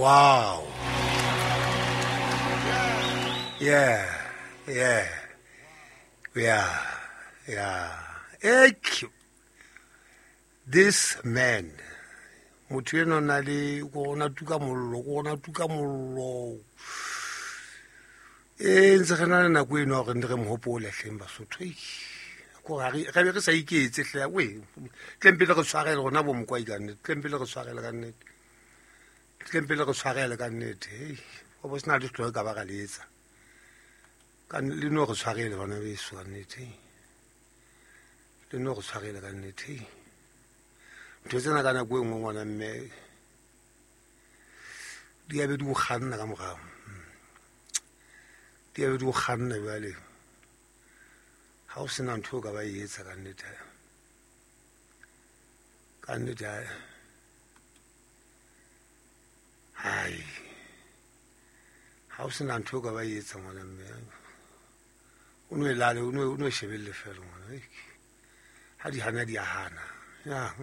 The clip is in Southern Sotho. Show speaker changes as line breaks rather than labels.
Wow. Yeah. Yeah. Yeah. Yeah. Ek. This man. Motho eno na le go ona tuka mollo, go ona tuka mollo. E ntse re na le nako eno gore re mo hopole hleng Basotho. Ko ga re be re sa iketse hle we. Tlempele re tshwarele rona bo mokwai ka nnete. Tlempele re tshwarele ka nnete. Tlempele re tshwarele ka nnete. Hey, go bo sena le tlo ka ba ga le etsa. Ka le no re tshwarele bana beso ka nnete. Le no re tshwarele ka nnete. Ntho tsena ka nako e nngwe ngwana mme di a be di o kganna ka morao. Di a be di o kganna jwale. Ha o sena ntho o ka ba e etsa ka nnete. Ka nnete hai. Ha o sena ntho o ka ba e etsa ngwana mme. O no e lale, o no shebelle fela ngwana. Ha di hana di a hana. Ya.